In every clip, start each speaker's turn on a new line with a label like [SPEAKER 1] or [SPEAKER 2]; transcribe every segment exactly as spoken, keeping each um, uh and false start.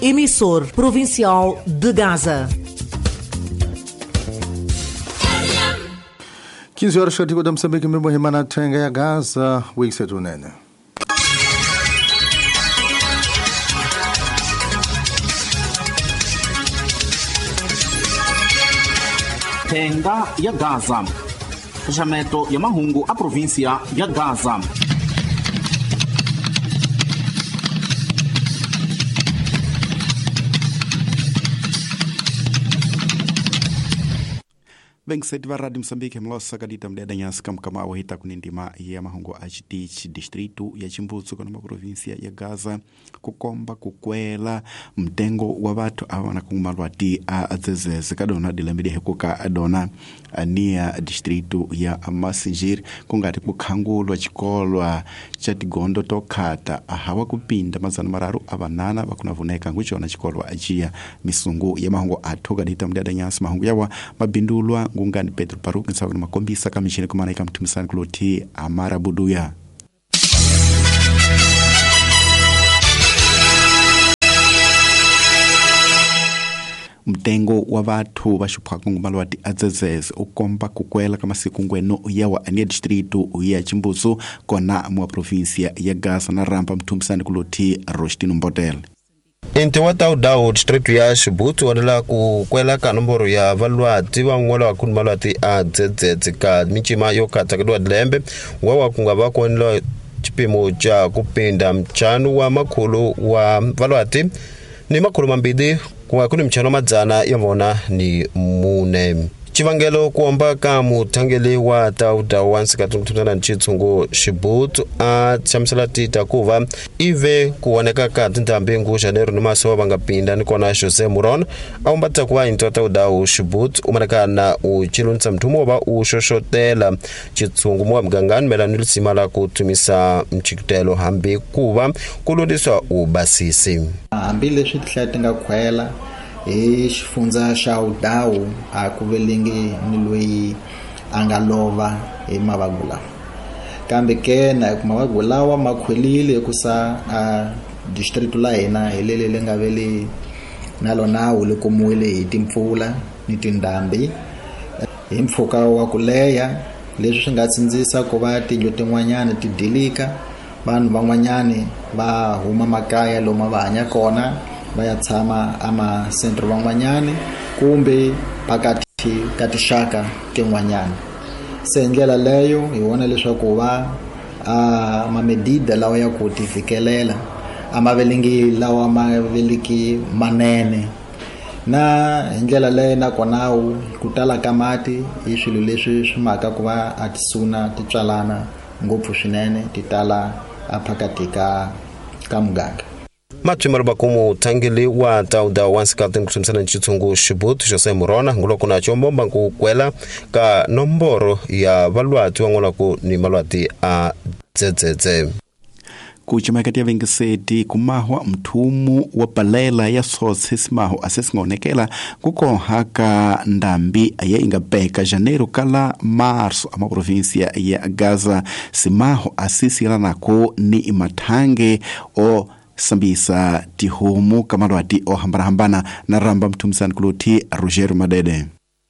[SPEAKER 1] emissor provincial de Gaza.
[SPEAKER 2] quinze horas katika da Moçambique mbimbo himana thenga ya Gaza wikisetu nene.
[SPEAKER 3] Thenga ya Gaza. Xaxameto ya mahungu a província ya Gaza.
[SPEAKER 4] Vengiseti va Radio Moçambique mlosa kadita mdeda nyasi kamkama wahita kunindima ya mahungu a chitichi distrito ya Chimbutsu kana província ya Gaza kukomba kukwela mtengo wa vathu ava na kumalwati a dzezeze kadona dilembede hekuka adona ania distrito ya Massingir kungati kukhangulwa chikolwa cha tigondo tokhata ahawa kupinda mazana mararu avanana vakunavuneka nguchona chikolwa achiya misungu ya mahungu athu kadita mdeda nyasi mahungu yawa mabindulwa ngungani Pedro Paruk nsawa na makombisa kamishini kumana ikamtumisani kuloti Amara Buduya. Mtengo wa vathu va xuphaka ngumalwati a dzedzeze u komba kukwela ka masiku ngweno yawa ania distrito ya Chimbutsu kona mwa província ya Gaza na rampa mtumisani kuloti Rostino Mbodel.
[SPEAKER 5] Inti wa Taudau distrito ya Xibutsu wanela ku kwela ka nomboro ya valwati van'wana va malwati a dzedzedze ka mincima yo katsa ka lembe wa wa ku nga va konela xipimo xa ku pinda ntlhanu wa makhulu wa valwati ni makhulu mambirhi ku nga ku ni ntlhanu wa madzana ya vona ni mune. Xivangelo ku komba ka muthangeli wa Taudau wa nsikatana Xitshungu Xibutsu a hlamusela tita ku va ive ku voneka ka tindhambi ngu Janeiro ni maso va nga pinda ni kona Jose Muron a umbatsa ku va into Taudau Xibutsu u manakana u chilunisa mthumo va u xoxotela Xitshungu mo mugangani melana ni lisima la ku tumisa mchikutelo hambi ku va ku lundiswa u basisi
[SPEAKER 6] hambi leswi tihlaya ti nga khwela hi xifundza xa Udau a ku velengi ni loyi a nga lova hi mavabyi lawa kambe ke na ku mavabyi lawa ma khwelile ku sa a district la hina hi lele le nga vele na lona wu le kumiwile hi timpfula ni tindhambi hi mpfhuka wa ku leha leswi swi nga tsindzisa ku va tindlu tin'wanyana ti dilika vanhu van'wanyani va huma makaya lomu va hanya kona va ya tshama ama centro van'wanyani kumbe phakathi ka tixaka tin'wanyana se hi ndlela leyo hi vona leswaku va a mamedida lawa ya ku tifikelela a ma velengi lawa ma veliki manene na hi ndlela leyo nakona ku tala ka mati i swilo leswi swi maka ku va a tisuna ti tswalana ngopfu swinene ti tala a phakathi ka ka muganga.
[SPEAKER 5] Mathimalo bakumu thangeli wa Taudau wa nsikatini ku hlamusela Xitshungu Xibutsu Jose Murona nguloko na chombomba ku kwela ka nomboro ya valwati van'wana ku ni malwati a dzedzedze.
[SPEAKER 4] Kuchimakati ya vengiseti kumahwa mthumu wa balela ya sotse simaho asesingonekela kukoha ka ndambi ya ingabeka Janeiro kala Marso ama província ya Gaza simaho asisila nako ni mathange o sambisa tihomu kamalwati o hambana-hambana na ramba mthumisani kuloti Roger Madede.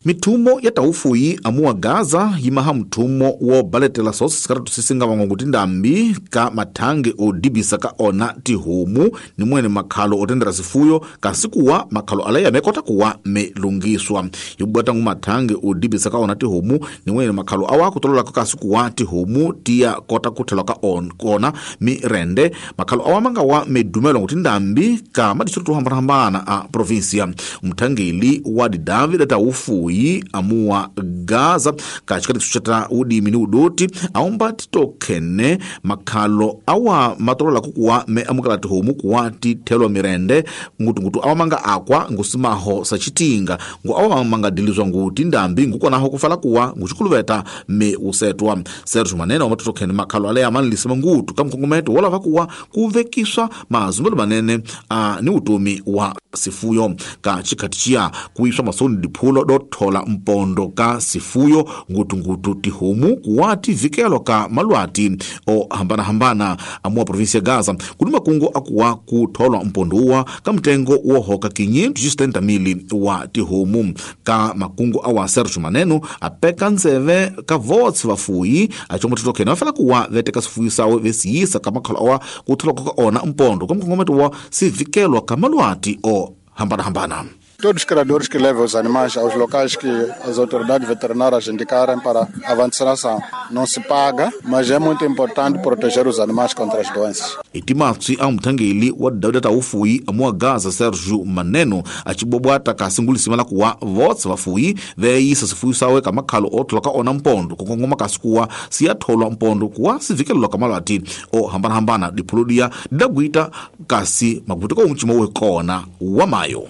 [SPEAKER 7] Mithumo ya taufuyi amuwa Gaza yimaha mthumo wo baletela sosi sikaratu sisinga vangongo tindambi ka mathange odibisa ka ona tihomu ni mwene makhalo otendera sifuyo kasi kuwa makhalo alaya mekota kuwa melungiswa yibwata ngu mathange odibisa ka ona tihomu ni mwene makhalo awa kutolola kasi kuwa tihomu tiya kota kuthelwa ka on kona mirende makhalo awa manga wa medumelo ngu tindambi ka madistritu hambana-hambana a província mthangeli wa David taufuyi amuwa Gaza kachikati kuchata udimi ni udoti aomba titokhene makhalo awa matolola kukuwa me amukala tihomu kuwa tithelwa mirende ngutungutu awa manga akwa ngusimaho sachitinga ngu awa manga dilizwa ngu tindambi ngukonaho kufala kuwa nguchikuluveta me usetwa Sergio Manene wa matotokhene makhalo ale amanlisema ngutu kamkongometo wola vakuwa kuvekiswa mazumbelo manene a ni utomi wa sifuyo ka chikhati chiya kuiswa masoni diphulo dothola mpondo ka sifuyo ngutungutu tihomu kuwati vikelo ka malwati ohambanahambana amuwa provinsia ya Gaza kuni makungu akuwa kutholwa mpondo uwa ka mtengo wohoka quinhentos e setenta mil wa tihomu ka makungu awa Sergio Maneno apeka nzeve ka votsi vafuyi achombo titokhena vafela kuwa veteka sifuyo sawe vesiyisa ka makhala awa kutholwa ka ona mpondo ka mkongometo wa sivikelwa ka malwati o hambana-hambana.
[SPEAKER 8] Todos os criadores que levam os animais aos locais que as autoridades veterinárias indicarem para a vacinação. Não se paga, mas é muito importante proteger os animais contra as doenças.
[SPEAKER 7] Itimatsi a mutangeli wa dawida ta ufuyi amuwa Gaza Sergio Maneno achibobwata ka singulisima la kuwa votsi vafuyi veyisa sifuyo sawe ka makhalo othola ka ona mpondo kukongoma kasi kuwa siyatholwa mpondo kuwa sivikelelwa ka malwati o hambana-hambana diphuludiya didagwita kasi maguti ko mchimo we kona wa mayo.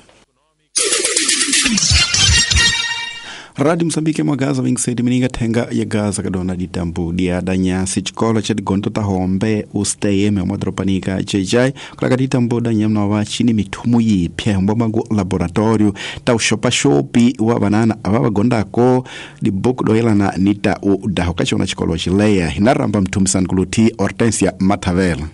[SPEAKER 4] Rádio Moçambique mwa Gaza vinte e seis mininga thenga ya Gaza kadona ditambu dia danyasi chikolo cha digonto ta hombe ustm mwa dropanika jj kulaka ditambu danyamna wa chini mithumu yipya mbombangu laboratorio ta ushopa shopi wa banana ava bagondako dibuku doyelana nita udaho kachona chikolo chileya hinaramba mthumisani kuluthi Hortensia Matavela.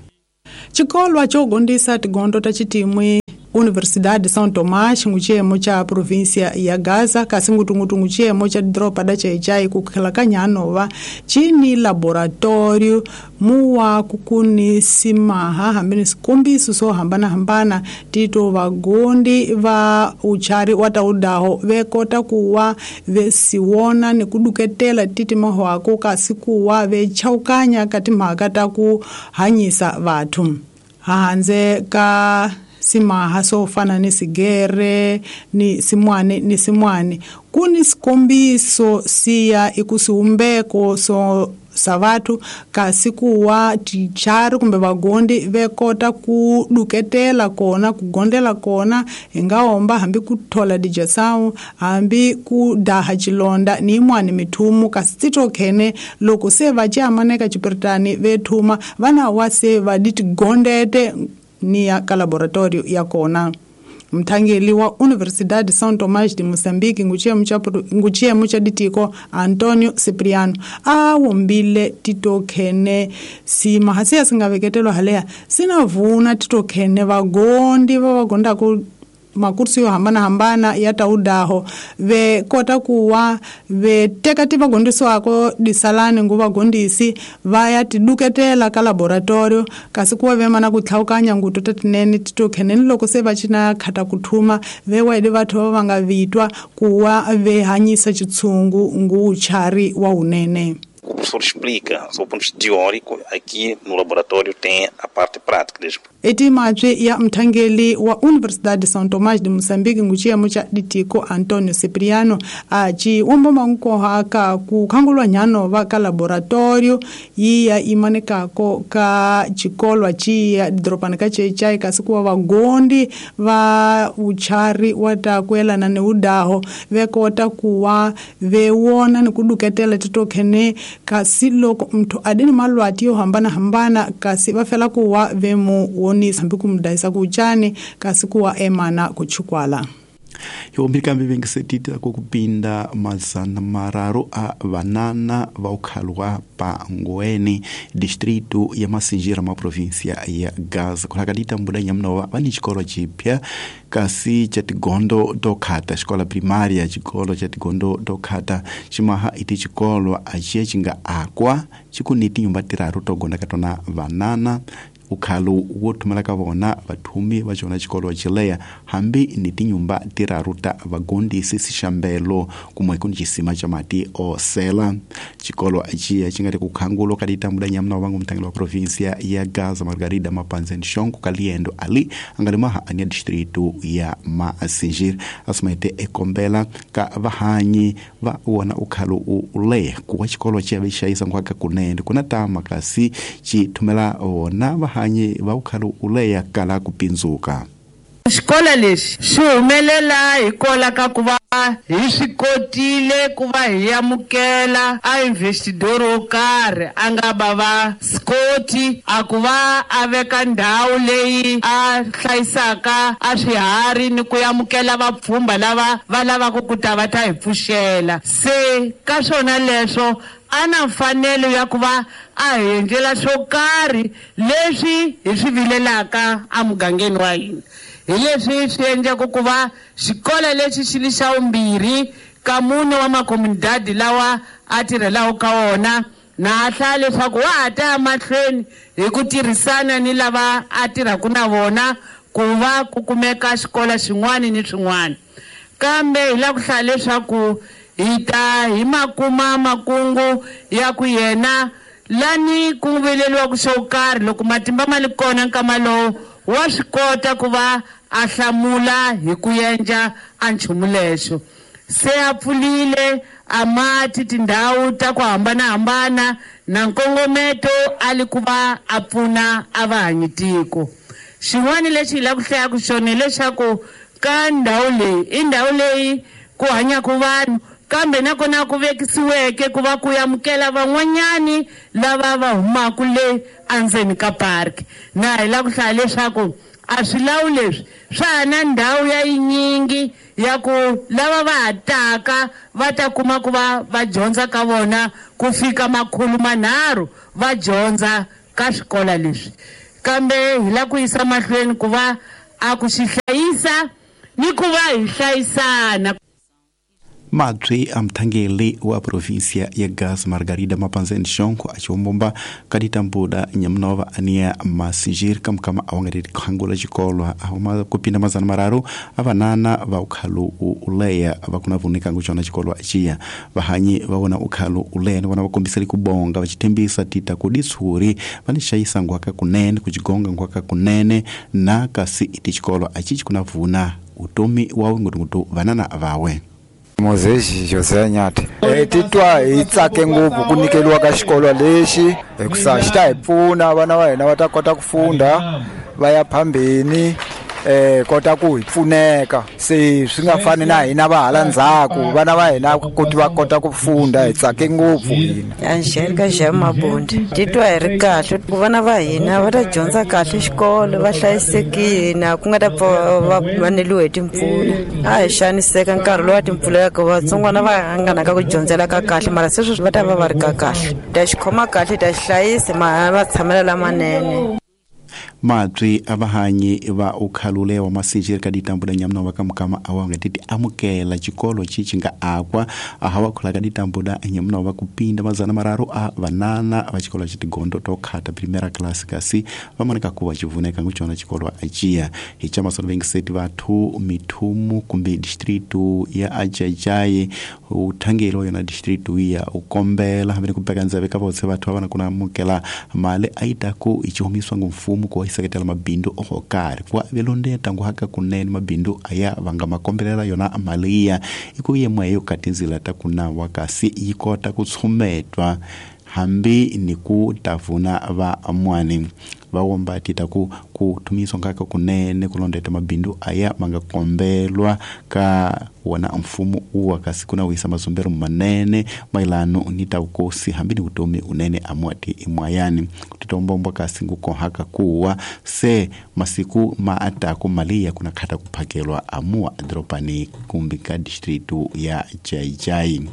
[SPEAKER 9] Chikolwa chogondisa tigondo ta chitimwi Universidade de São Tomás nguchiyemo cha província ya Gaza kasi ngutungutu nguchiyemo cha dropa da Chechai kukhela kanyanova chini laboratório muwa kukuni simaha hambini sikombiso so hambana hambana tito vagondi va uchari wataudaho vekota kuwa vesiwona ni kuduketela titi mahwako kasi kuwa vechaukanya kati mhaka ta ku hanyisa vathu hanze ka simaha so fana ni sigere ni simwane ni simwane kuni sikombiso siya ikusiumbeko so savatu kasi kuwa tichari kumbe vagondi vekota kuduketela kona kugondela kona ingaomba hambi kuthola dijasawu hambi kudaha chilonda ni imwani mithumu kasi titokhene loko se vaciamaneka cipiritani vethuma vana wa se vaditigondete ni ya ka laboratorio ya kona. Mthangeli wa Universidade de São Tomás de Moçambique nguchiyemo cha ditiko Antonio Cipriano a wombile titokhene simaha siya singaveketelwa haleya sinavuna titokhene vagondi va vagondako makursi yo hambana hambana ya taudaho ve kota kuwa ve teka ti vagondisiwako disalani ngu vagondisi va ya tiduketela ka laboratorio kasi kuwa ve mana ku tlhawukanya nguto ta tinene titokheneni loko se va cina khata ku thuma ve waide vathu va va nga vitwa kuwa ve hanyisa chitshungu ngu uchari wa unene.
[SPEAKER 10] O professor explica, sob o ponto de vista teórico, aqui no laboratório tem a parte prática.
[SPEAKER 9] Etimatswe ya mthangeli wa Universidade de São Tomás de Moçambique nguchiyemo cha ditiko Antonio Cipriano aci womboma nkoha ka kukhangulwa nyano va ka laboratorio yiya imanekako ka chikolwa chiya didropani ka Chechai kasi kuwa vagondi va uchari wa ta kuelana ni udaho vekota kuwa vewona ni kuduketela titokhene kasi loko mthu adini malwati yo hambana hambana kasi va fela kuwa vemu wonisa hambi kumdayisa kuchani kasi kuwa emana kuchukwala.
[SPEAKER 4] Yombili vengisetita kukupinda mazana mararu a vanana va ukhalwa pa Ngoene distrito ya Masinjira ma província ya Gaza kulakadita mbuda nyamnova vani chikolo chipya kasi cha tigondo tokhata xikola primária chikolo cha tigondo tokhata chimaha iti chikolo aciya chinga akwa chikuni tinyumba tiraru togonda katona vanana ukhalu wo thumela ka vona vathumi va xona xikolo xileya hambi ni tinyumba tiraru ta vagondisi sixambelo kumwe ku ni xisima xa mati osela xikolo xiya xi nga ri ku khangulo ka ditambula nyamna wa vangu mutangeli wa provinsia ya Gaza Margarida Mapanzen Shongo ka liendo ali a nga ri maha ania distrito ya Masinjir asumaite ekombela ka vahanyi va wona ukhalu u leya ku wa xikolo xi ya vexayisa nkwaka kunene kuna tama kasi xi thumela wona vahanyi va ukhalu uleya kala ku pindzuka.
[SPEAKER 11] Xikolo lexi xi humelela hikola ka ku va Hi swi kotile ku va hi amukela a investidor wo karhi a nga va va Scott a ku va a veka ndhawu leyi a hlayisaka a swiharhi ni ku amukela vapfhumba lava va lavaka ku ta va ta hi pfuxela. Se ka swona leswo a na mfanelo ya ku va a hi endlela swo karhi leswi hi swi vilelaka emugangeni wa hina. Hi leswi swi endlaka ku va xikolo lexi xi li xa vumbirhi ka mune wa makomunidadi lawa a tirhelaku ka wona, na a hlaya leswaku wa ha ta ya mahlweni hi ku tirhisana ni lava a tirhaka na vona ku va ku kumeka xikolo xin'wana ni swin'wana. Kambe hi lava ku hlaya leswaku hi ta hi makuma makungu ya ku yena lani ku vileliwaku xo karhi loko matimba ma li kona nkama lowu wa swi kota ku va a hlamula hi ku endla a nchumu lexo. Se a pfulile a mati tindhawu ta ku hambanahambana na nkongometo a li ku va a pfuna a va hanyi tiko. Xin'wana lexi hi lava ku hlayaku xona hileswaku ka ndhawu leyi i ndhawu leyi ku hanyaka vanhu, kambe nakona ku vekisiweke ku va ku amukela van'wanyani lava va humaka le endzeni ka park. Na hi lava ku hlaya leswaku a swilawu leswi swa ha na ndhawu ya yinyingi ya ku lava va ha taka va ta kuma ku va va dyondza ka vona ku fika makhulu manharhu va dyondza ka swikolo leswi. Kambe hi lava ku yisa mahlweni ku va a ku xi hlayisa ni ku va hi hlayisana.
[SPEAKER 4] Mabyi a mthangeli wa província ya Gaza Margarida Mapanzeni Xongo achiwombomba kaditambuda nyamunova ania masinjiri kamukama awangati khangula xikolo ahuma kupinda mazana mararu avanana va ukhalu uleya vakuna vunika nguchona xikolo aciya vahanyi va vona ukhalu uleya ni vona va kombiseli kubonga va xithembisa tita kuditshuri va ni xayisa ngwaka kunene kuxigonga ngwaka kunene na kasi iti xikolo acici kuna vuna utomi wawe ngutungutu vanana vawe.
[SPEAKER 12] Moses José Nyati. Eh titwa hi tsake ngopfu ku nyikeliwa ka xikolo lexi hikusa xi ta hi pfuna vana va hina va ta kota ku funda va ya phambeni eh kota ku hi pfuneka se swi nga fani na hina va hala ndzhaku vana va hina ku va kota ku funda hi tsake ngopfu hina.
[SPEAKER 13] Angelica Jamabundi titwa hi ri kahle ku vana va hina va ta dyondza kahle xikolo va hlayisekile na ku nga ta va vaneliwe hi timpfula. A hi xaniseka nkarhi lowu timpfula ya ku vatsongwana va hanganaka ku dyondzela ka kahle mara sweswi va ta va va ri ka kahle ta xi khoma kahle ta xi hlayisa ma va tshamela lamanene.
[SPEAKER 4] Mabyi a vahanyi va ukhalule wa masinjiri ka ditambula nyamuna wa kamukama awanga titi amukela xikolo xi nga akwa ahawa khula ka ditambula nyamuna wa kupinda mazana mararu a vanana va xikolo xi tigondo to khata primera class kasi va moneka ku va xivuneka nguchona xikolo aciya hi chamasolo vengiseti vathu mithumu kumbe distritu ya Ajajayi uthangelo wa yona distritu ya ukombela hambi ku beka ndzeve ka votse vathu va vana kuna amukela mali a yi ta ku i xihumiswa ngumfumo ku seketela mabindu o karhi ku velondeta nguhaka kunene mabindu aya vanga makombelela yona mali ya iku yemwe yo katinzila ta kunawa kasi yi kota ku tshumetwa hambi ni ku tavuna va amwani va womba tita ku ku thumiswa ngaka kunene kulondeta mabindu aya manga kombelwa ka wona mfumo uwa kasi kuna wisa mazumbero manene mailano ni tawukosi hambi ni utomi unene amwati imwayani kutitombomba kasi ngukohaka kuwa se masiku maataku malia kuna khata kuphakelwa amua dropani kumbi ka distritu ya Chaichai.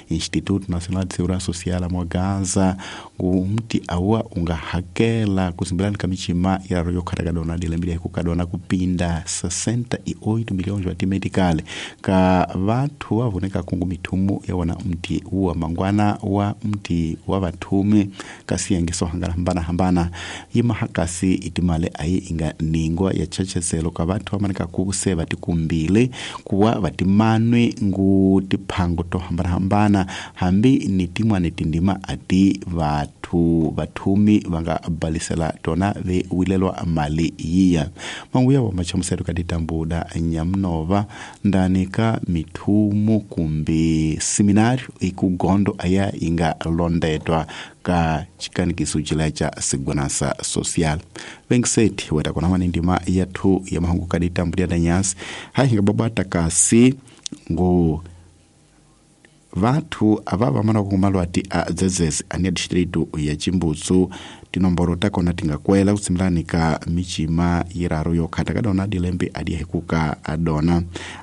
[SPEAKER 4] Instituto Nacional de Segurança Social mwa Gaza ngumti awa ungahakela kusimbelani kamichima ya royo khatakadona dilembile kukadona kupinda sessenta e oito milhões wa medical ka vathu vavoneka kungu mithumu ya wona mti wa mangwana wa mti wa vathume kasi yangiso hangana hambana hambana yima hakasi itimale ayi inga ningwa ya chacheselo ka vathu vamaneka kuse vatikumbile kuwa vatimanwe ngu tiphango to hambana hambana hambi ni timwane tindima ati vathu vathumi vanga balisela tona ve wilelwa mali yiya manguya wa machamuselo ka ditambuda nyamnova ndani ka mithumu kumbi seminario ikugondo aya inga londetwa ka chikanikiso chila cha segurança social vengiseti weta kona mani ndima yathu ya mahungu ka ditambuda da nyasi hayi hinga babata kasi Ngo vathu ava vamana kumalwati a dzedzedze ania distritu ya Chimbutsu tinomboro takona tingakwela kutsimilani ka michima yiraru yokhata kadona dilembe adiyahikuka adona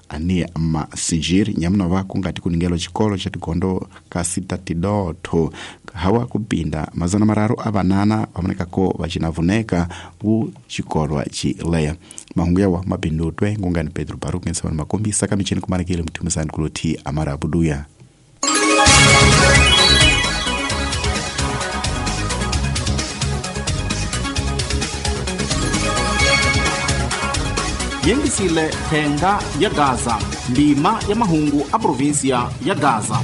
[SPEAKER 4] ania masinjiri nyamunova kungati kuningelo chikolo cha tigondo ka sita tidotho hawa kupinda mazana mararu avanana vamonekako vacinavuneka ku chikolwa chileya. Mahungu yawa mapindutwe ngungani Pedro Baruch ngesavana makombisa kamicheni kumanakile mthumisani kuluthi amarabuduya.
[SPEAKER 3] Yengisile thenga ya Gaza, ndima ya mahungu a província ya Gaza.